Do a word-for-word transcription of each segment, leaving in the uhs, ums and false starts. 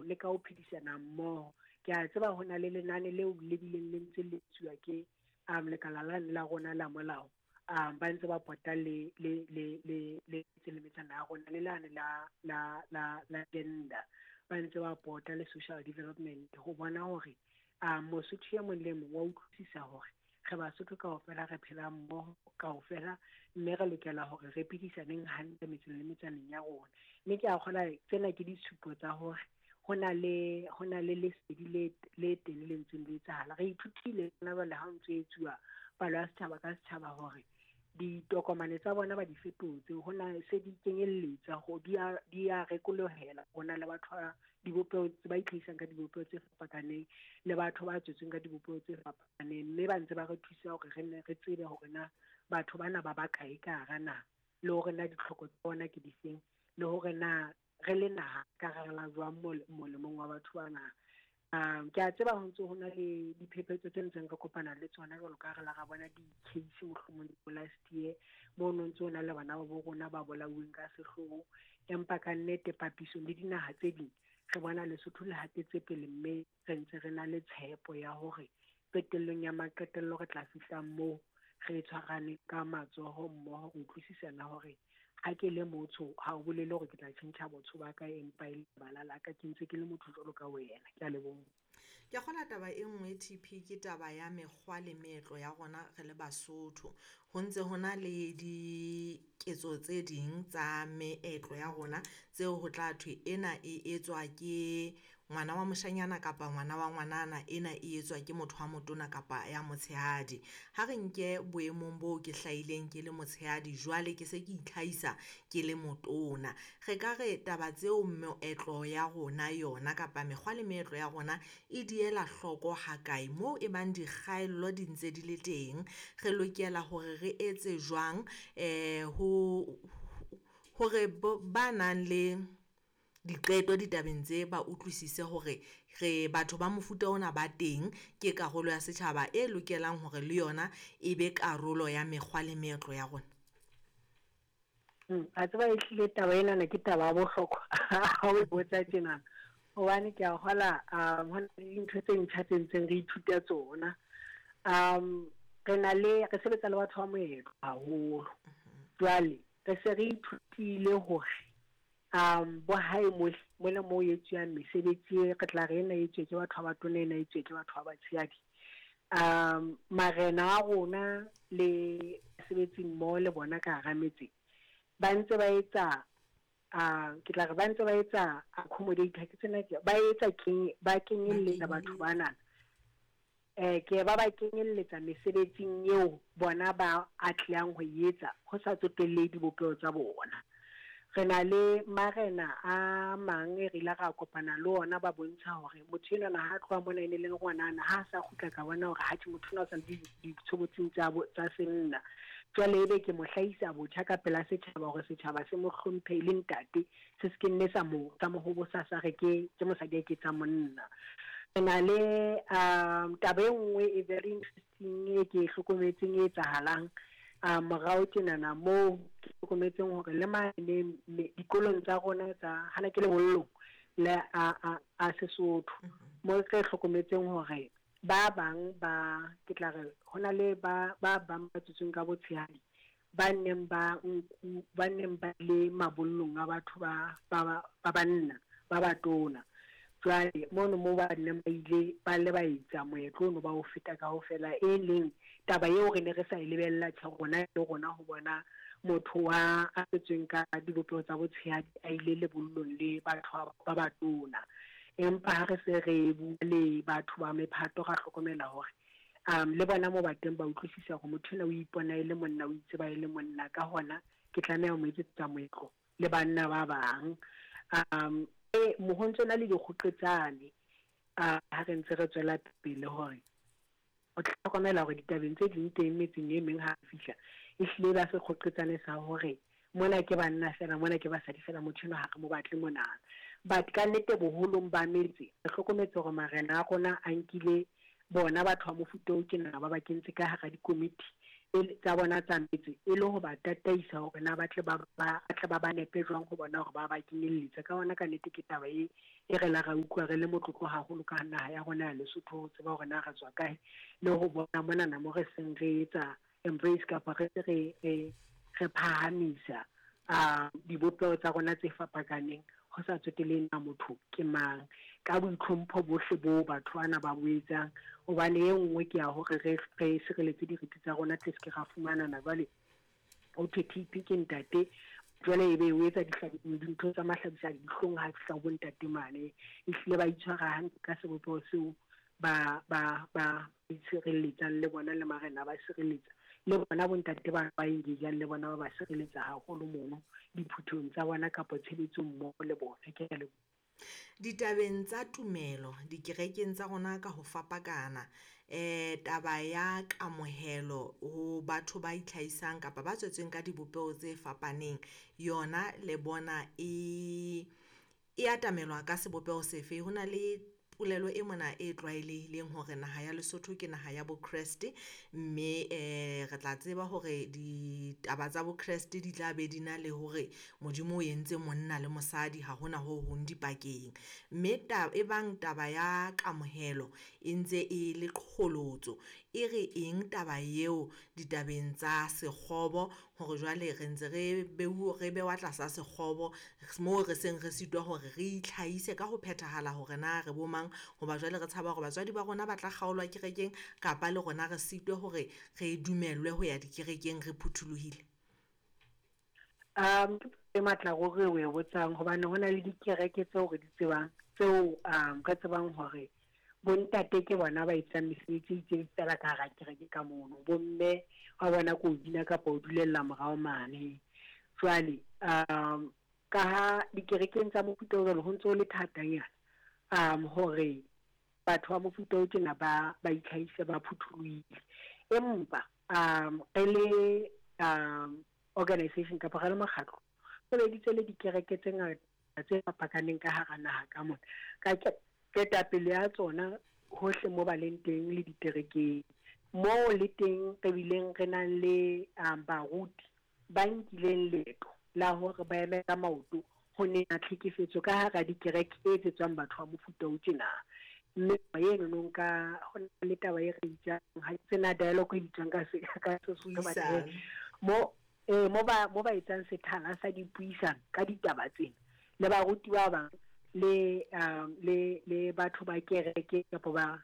le ka ho phedisana mmoho. Ke a tseba ho na le lenane leo le bileng le ntse le etsuwa ke um lekala lane la rona la molao, um ba ntse ba pota le le le le le le metsana ya rona le lane la la la la gender, ba ntse ba pota le social development ho bona hore um Mosotho e mong le mong wa utlwisisa hore re Basotho kaofela, re phela mmoho kaofela, mme re lokela hore re phedisaneng hantle metseng le metsaneng ya rona. Mme ke a kgolwa tsena ke ditshupo tsa hore ho na le ho na le lesedi le le teng le ntseng le etsahala. Re ithutile hona jwale ha ho ntso etsuwa palo ya setjhaba ka setjhaba hore ditokomane tsa bona ba di fetotse, ho na se di kenyelletsa ho di a di a rekolohela. Ho na le batho ba dibopeho tse ba itlhahisang ka dibopeho tse fapakaneng le batho ba tswetsweng ka dibopeho tse fapakaneng, mme ba ntse ba re thusa hore re nne re tsebe hore na batho bana ba bakae ka hara naha, le hore na ditlhoko tsa bona ke difeng, le hore na re le naha ka rala jwang molemong wa batho bana. Um ke a tseba ho ntse ho na le diphephetso tse ntseng re kopana le tsona jwalo ka re la ra bona di-case mohlomong last year moo no ntse ho na le bana ba bo rona ba bolauweng ka sehloho, empa ka nnete papisong le dinaha tse ding re bona Lesotho le hatetse pele, mme re ntse re na le tshepo ya hore qetellong ya maqetello re tla fihla moo re tshwarane ka matsoho mmoho re utlwisisana hore ha ke le motho ha o bolele hore ke tla tjhentjha botho ba ka, empa e le lebala la ka, ke ntse ke le motho jwalo ka wena. Ke a leboha. Ke kgola taba e nngwe T P ke taba ya mekgwa le meetlo ya rona re le Basotho. Ho ntse ho na le diketso tse ding tsa meetlo ya rona tseo ho tla thwe ena e etswa ke ngwana wa moshanyana kapa ngwana wa ngwanana, ena e etswa ke motho wa motona kapa ya motshehadi. Ha re nke boemong boo ke hlahileng ke le motshehadi, jwale ke se ke itlhahisa ke le motona. Re ka re taba tseo meetlo ya rona yona kapa mekgwa le meetlo ya rona e diela hloko hakae moo e bang dikgaello di ntse di le teng, re lokela hore re etse jwang eh ho hore ba nang le diqeto ditabeng tse ba utlwisise hore re batho ba mofuta ona ba teng, ke karolo ya setjhaba e lokelang hore le yona e be karolo ya mekgwa le meetlo ya rona. Mm, a tseba e hlile taba ena ke taba ya bohlokwa ha o botsa tjena, hobane ke a kgola um ho na le dintho tse ntjha tse ntseng re ithuta tsona. Um re na le re sebetsa le batho ba moetlo haholo, jwale re se re ithutile hore um bo hae mole mo etsuwang mesebetsi re tla re ena etswe ke batho ba batona, ena etswe ke batho ba batshehadi. Um marena a rona le sebetsi mmoho le bona ka hara metse ba ntse ba etsa uh ke tla re ba ntse ba etsa accommodate ke tsena ke ba etsa keng ba kenyelletsa batho bana eh ke ba ba kenyelletsa mesebetsing eo bona ba atlehang ho etsa ho sa tsotelle dibopeho tsa bona. Re na le marena a mang e re ile ra kopana le ona ba bontsha hore motho enwa ha tloha mona e ne le ngwanana, ha sa kgutla ka bona hore ha motho ona o sa le ditshobotsing tsa tsa senna, jwale ebe ke mo hlahisa botjha ka pela setjhaba hore setjhaba se mo hlomphe le ntate, se se ke nne sa mo sa mo hobosa sa re ke ke mosadi a ke tsa monna. Re na le um taba e nngwe e very interesting e ke hlokometseng e etsahalang a morao tjenana moo ke hlokometseng hore le mane dikolong tsa rona tsa hana ke lebollong le a a a Sesotho mo re hlokometseng hore ba bang ba ke tla re hona le ba ba bang ba tswetsweng ka botshehadi ba neng ba nku ba neng ba le mabollong a batho ba ba ba banna ba batona. Jwale mono mo ba neng ba ile ba le ba etsa moetlo ono ba o feta kaofela, e leng taba eo re ne re sa e lebella tjhe rona le rona ho bona motho wa a tswetsweng ka dibopeho tsa botshehadi a ile lebollong le batho ba batona. Empa ha re se re bua le batho ba mephato ra hlokomela hore um le bona mo ba teng ba utlwisisa hore motho ena o ipona e le monna, o itseba e le monna, ka hona ke tlameha ho mo etsetsa moetlo le banna ba bang. Um e ho ntso na le dikgoqetsane a ha re ntse re tswela pele hore o hlokomela hore ditabeng tse ding teng metseng e meng ha fihla e hlile ba se kgoqetsane sa hore mona ke banna fela, mona ke basadi fela, motho enwa ha re mo batle mona. But ka nnete boholong ba metse re hlokometse hore marena a rona a nkile bona batho ba mofuta o tjena ba ba kentse ka hara dikomiti tsa bona tsa metse e le ho ba tataisa hore na ba tle ba ba tle ba ba nepe jwang ho bona hore ba ba kenyelletsa. Ka hona ka nnete ke taba e E re la ra utlwa re le motlotlo haholo ka naha ya rona ya Lesotho, ho tseba hore na re tswa kae, le ho bona monana mo re seng re etsa embrace kapa re re re re phahamisa a dibopeho tsa rona tse fapakaneng, ho sa tsotelehe na motho ke mang, ka boitlhompho bohle bo batho bana ba bo etsang. Hobane e nngwe ke ya hore re re sireletse diriti tsa rona, tle se ke ra fumanana jwale ho thwe T P ke ntate, jwale ebe o etsa dintho tsa mahlabisa dihlong ha fihla ho bontate mane. Ehlile ba itshwara hantle ka sebopeho seo, ba ba ba itshireletsang le bona, le marena ba sireletsa le bona bontate ba ba engage-ang le bona, ba ba sireletsa haholo mono diphuthong tsa bona kapa tshebetsong mmoho le bona. Ke a leboha. Ditabeng tsa tumelo dikerekeng tsa rona ka ho fapakana, eh taba ya kamohelo ho batho ba itlhahisang kapa ba tswetsweng ka dibopeho tse fapaneng, yona le bona e e atamelwa ka sebopeho sefe? Ho na le polelo e mona e tlwaelehileng hore naha ya Lesotho ke naha ya bokreste, mme eh re tla tseba hore ditaba tsa bokreste di tla be di na le hore Modimo o entse monna le mosadi, ha hona ho hong dipakeng. Mme ta e bang taba ya kamohelo e ntse e le qholotso, e re eng taba eo ditabeng tsa sekgobo, hore jwale re ntse re beu re bewa tlasa sekgobo moo re seng re sitwa hore re itlhahise ka ho phethahala hore na re bo mang, hoba jwale re tshaba hore batswadi ba rona ba tla kgaolwa kerekeng, kapa le rona re sitwe hore re dumellwe ho ya dikerekeng re phuthulohile? Um ke matla hore o e botsang, hobane hona le dikereke tseo re di tsebang, tseo um re tsebang hore bontate ke bona ba etsang mesebetsi e itseng fela ka hara kereke ka mono, bomme wa bona ko bina kapa o dulella morao mane. Jwale um ka ha dikerekeng tsa mofuta o jwalo ho ntse ho le thatanyana um hore batho ba mofuta o tjena ba ba itlhahise ba phuthulohile. Empa um re le um organization kapa re le mokgatlo, sebeditse le dikereke tse ngata tse fapakaneng ka hara naha ka mona, ka ketapele ya tsona hohle mo ba leng teng le diterekeng moo le teng re bileng re nang le um baruti ba nkileng leeto la hore ba eme ka maoto ho nena tlhekefetso ka hara dikereke e etsetswang batho ba mofuta o tjena. Mme eno no nka ho na le taba e re bitsang, ha ke tsena dialogue e bitswang ka se ka Sesotho ba mo eh mo ba mo ba etsang sethala sa dipuisano ka ditaba tsena le baruti ba bang le um le le batho ba kereke kapa ba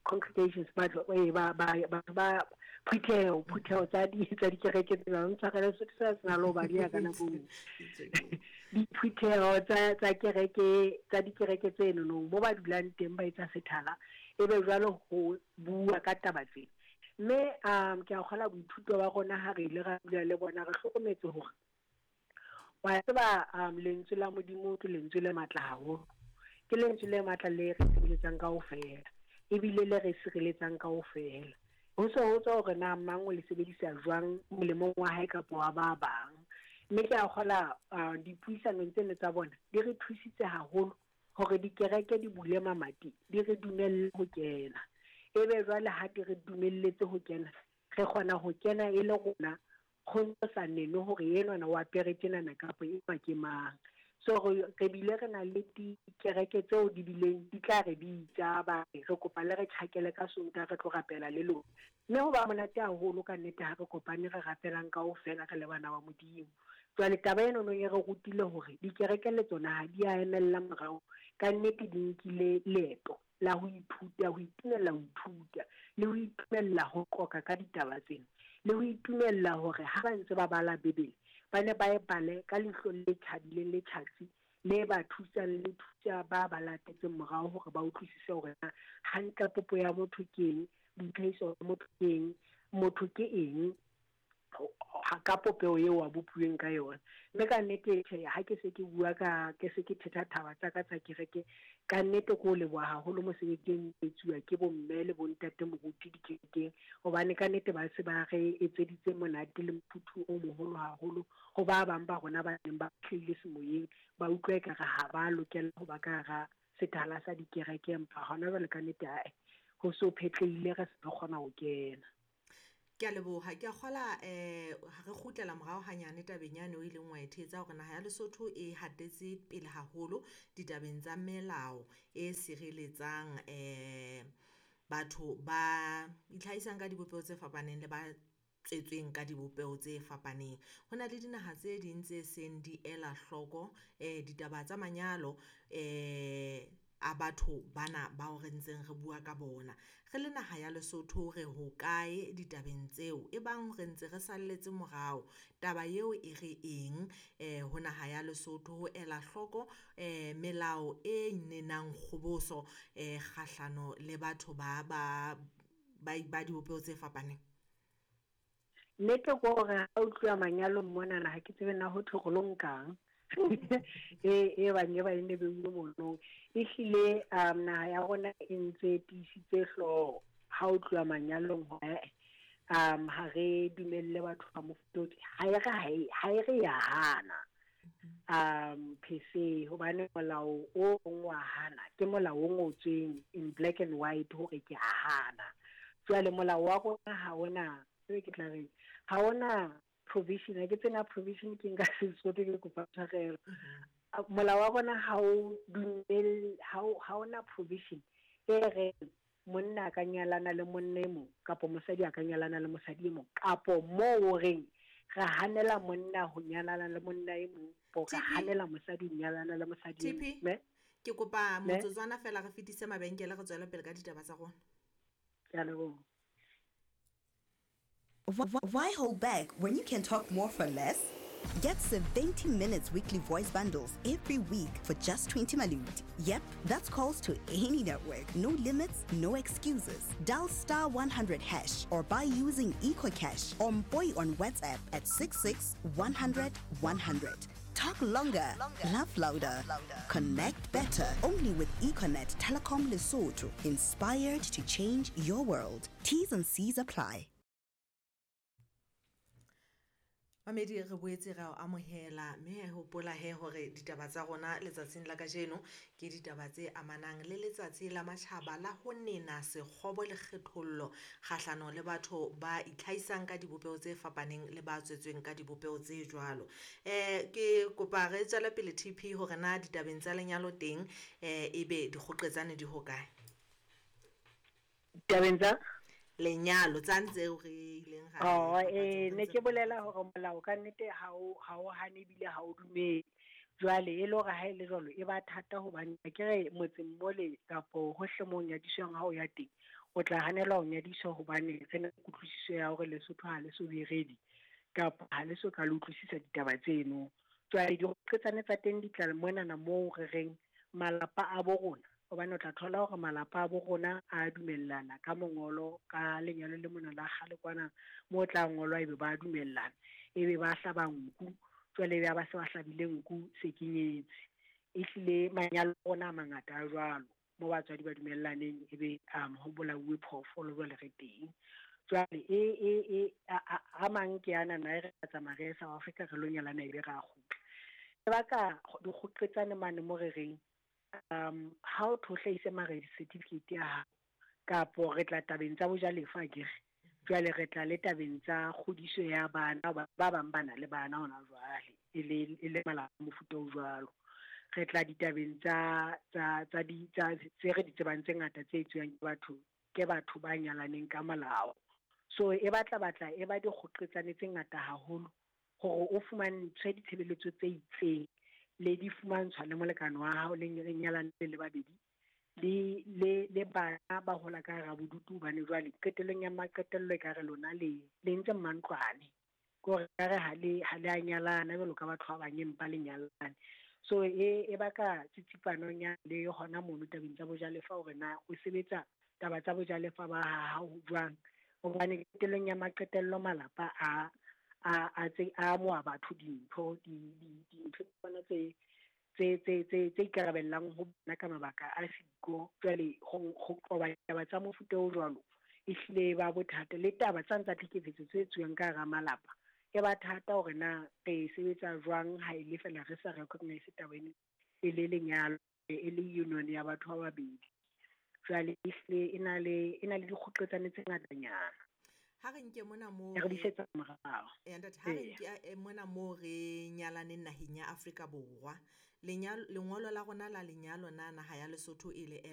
congregations ba ba ba batho ba phutheho phutheho tsa di tsa dikereke tsena ntshwarele Sesotho sa sena le ho ba dia ka nako diphutheho tsa tsa kereke tsa dikereke tseno no mo ba dulang teng ba etsa sethala, ebe jwalo ho bua ka taba tsena. Mme um ke a kgola boithuto ba rona ha re ile ra dula le bona, re hlokometse hore wa tseba um lentswe la Modimo ke lentswe le matla haholo, ke lentswe le matla le re sebeletsang kaofela, ebile le re sireletsang kaofela. Ho se ho tswa hore na mang o le sebedisa jwang molemong wa hae kapa wa ba bang. Mme ke a kgola dipuisanong tseno tsa bona di re thusitse haholo hore dikereke di bule mamati, di re dumelle ho kena. Ebe jwale ha di re dumelletse ho kena, re kgona ho kena e le rona, ho ntso sa nene hore enwana o apere tjenana kapa enwa ke mang. So re bile re na le dikereke tseo di bileng di tla re bitsa ba re re kopa le re tjhakele ka Sontaha re tlo rapela le lona. Mme ho ba monate haholo ka nnete ha re kopane re rapelang kaofela re le bana ba Modimo. Jwale taba eno no e re rutile hore dikereke le tsona ha di a emella morao, ka nnete di nkile leeto la ho ithuta, ho itumella ho ithuta le ho itumella ho qoqa ka ditaba tsena, le ho itumella hore ha ba ntse ba bala Bibele ba ne ba e bale ka leihlo le tjhabileng le tjhatsi le ba thusang le thusa ba ba latetseng morao hore ba utlwisise hore na hantle popo ya motho ke eng, boitlhahiso ba motho ke eng, motho ke eng ka popeho eo a bopuweng ka yona. Mme ka nnete tjhe, ha ke se ke bua ka ke se ke thetha thaba tsa ka tsa kereke, ka nnete ke o leboha haholo mosebetsi o etsuwa ke bomme le bontate moruti dikerekeng, hobane ka nnete ba se ba re etseditse monate le mofuthu o moholo haholo ho ba bang ba rona ba neng ba hlahile semoyeng, ba utlwa ekare ha ba lokela ho ba ka hara sethala sa dikereke, empa hona jwale ka nnete ae ho so phetlehile, re se re kgona ho kena. Ke a leboha, ke a kgola eh ha re kgutlela morao hanyane tabeng yane o ileng wa e thetsa hore naha ya Lesotho e hatetse pele haholo ditabeng tsa melao e sireletsang eh batho ba itlhahisang ka dibopeho tse fapaneng le ba tswetsweng ka dibopeho tse fapaneng. Ho na le dinaha tse ding tse seng di ela hloko eh ditaba tsa manyalo eh a batho bana bao re ntseng re bua ka bona. Re le naha ya Lesotho re hokae ditabeng tseo? E bang re ntse re salletse morao, taba eo e re eng eh ho naha ya Lesotho ho ela hloko eh melao e nenang kgoboso eh kgahlano le batho ba ba ba ba dibopeho tse fapaneng? Nnete ke hore ha o tluwa manyalong monana ha ke tsebe na ho thwe re lo nkang. E e bang e ba e ne beuwe mono. Ehlile um naha ya rona e ntse tiisitse hlooho ha o tluwa manyalong hore um ha re dumelle batho ba mofuta o ha e re ha e ha e re ya hana um per se, hobane molao o mong wa hana ke molao o ngotsweng in black and white hore ke a hana. Jwale molao wa rona ha ona, ebe ke tla reng, ha ona provision, ha ke tsena provision ke nka Sesotho ke kopa tshwarelo. Molao wa rona ha o dumelle, ha o, ha ona provision e reng monna a ka nyalana le monna e mong kapo mosadi a ka nyalana le mosadi e mong, kapo moo o reng re hanela monna ho nyalana le monna e mong, kapo re T P. hanela mosadi ho nyalana le mosadi e T P. mong. Me? Ke kopa Me? motsotswana fela re fetise mabenkele re tswele pele ka ditaba tsa rona. Ke a leboha. Why hold back when you can talk more for less? Get seventy minutes weekly voice bundles every week for just twenty malut. Yep, that's calls to any network. No limits, no excuses. Dial star one hundred hash or buy using EcoCash or Mpoi on WhatsApp at six six one hundred one hundred. Talk longer, laugh louder, connect better. Only with Econet Telecom Lesotho. Inspired to change your world. T's and C's apply. Mamedi, re boetse ra o amohela mme hopola he hore ditaba tsa rona letsatsing la kajeno ke ditaba tse amanang le letsatsi la matjhaba la ho nena sekgobo le kgethollo kgahlano le batho ba itlhahisang ka dibopeho tse fapaneng le ba tswetsweng ka dibopeho tse jwalo. Eh ke kopa re tswele pele T P hore na ditabeng tsa lenyalo teng eh ebe dikgoqetsane di hokae? Ditabeng tsa lenyalo tsa ntse re ileng ra Oh, bapatsa eh, hore ne ntse ke re bolela bapatsa. hore molao ka nnete ha o, ha o hane ebile ha o dumele. Jwale e le hore ha e le jwalo e ba thata hobane ke re motseng mole kapo hohle moo nyadiswang ha o ya teng, o tla hanelwa ho nyadiswa hobane re na le kutlwisiso ya hore Lesotho ha le so be ready kapa ha le so ka le utlwisisa ditaba tseno. Jwale dikgoqetsane tsa teng di tla monana moo re reng malapa a bo rona, hobane o tla thola hore malapa a bo rona a dumellana ka mongolo, ka lenyalo le mona la kgale kwana moo tla ngolwa ebe ba dumellana, ebe ba hlaba nku, jwale ebe ha ba se ba hlabile nku se ke nyetse. Ehlile manyalo a rona a mangata a jwalo, moo batswadi ba dumellaneng ebe, um, ho bolauwe phoofolo jwale re teng. Jwale e, e, e, a, a, a mang ke ana na e re tsamaya re ye South Africa re lo nyalana ebe re a kgutla. Lebaka dikgoqetsane mane mo re reng, um, ha o tho hlahise marriage certificate ya hao, kapo re tla tabeng tsa bojalefa akere, jwale re tla le tabeng tsa kgodiso ya bana, ba bang ba na le bana hona jwale, e le, e le malapa a mofuta o jwalo. Re tla ditabeng tsa, tsa, tsa di, tsa, tse re di tsebang tse ngata tse etsuwang ke batho, ke batho ba nyalaneng ka molao. So e batla batla e ba dikgoqetsane tse ngata haholo hore o fumantshwe ditshebeletso tse itseng le di fumantshwa le molekane wa hao le le nyalane le babedi le, le, le bana ba hola ka hara bodutu, hobane jwale qetellong ya maqetello e ka re lona le, le ntse mmantlwane, ke hore ka re ha le, ha le a nyalana jwalo ka batho ba bang empa le nyalane. So e, e baka tsitsipanong ya le hona mono tabeng tsa bojalefa hore na o sebetsa taba tsa bojalefa ba hao jwang, hobane qetellong ya maqetello malapa a, a, a tse, a amoha batho dintho, di, di, dintho tsona tse, tse, tse, tse, tse ikarabellang ho bona ka mabaka a siko. Jwale ho, ho qoba ditaba tsa mofuta o jwalo ehlile e ba bothata, le taba tsa ntsa tlhekefetso tse etsuwang ka hara malapa e ba thata hore na re sebetsa jwang ha e le fela re sa recognize taba ena e le lenyalo, e le union ya batho ba babedi. Jwale ehlile e na le, e na le dikgoqetsane tse ngatanyana. Ha re nke mona moo E re busetsa morao. Eh, ntate, ha re Eya. nke eh, mona moo re nyalaneng naheng ya Afrika Borwa, lenyalo lengolo la rona la lenyalo na naha ya Lesotho e le